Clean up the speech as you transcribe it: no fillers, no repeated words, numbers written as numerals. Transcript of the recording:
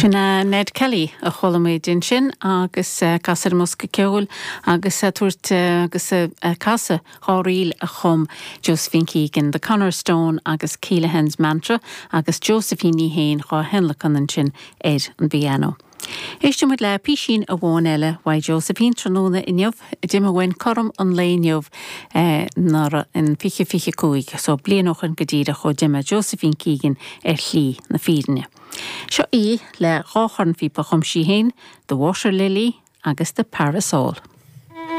Sin é Ned Kelly a chuala muid ansin agus ag casadh ar an mbosca ceoil agus ag tabhairt agus ag casadh dha ríl a chum Josephine Keegan, The Connor Stone agus Keelaghan's Mantra agus Josephine í féin dhá thionlacan ansin ar an bpianó. Éistfidh muid le písín amháin eile uaidh Josephine tráthnóna inniu, d'imigh uainn cothrom an lae inniu anuraidh in 2025, so bliain ó shoin go díreach ó d'imigh Josephine Keegan ar shlí na fírinne. Seo í le dha chornphíopa a chum sí féin, The Water Lily agus The Parasol.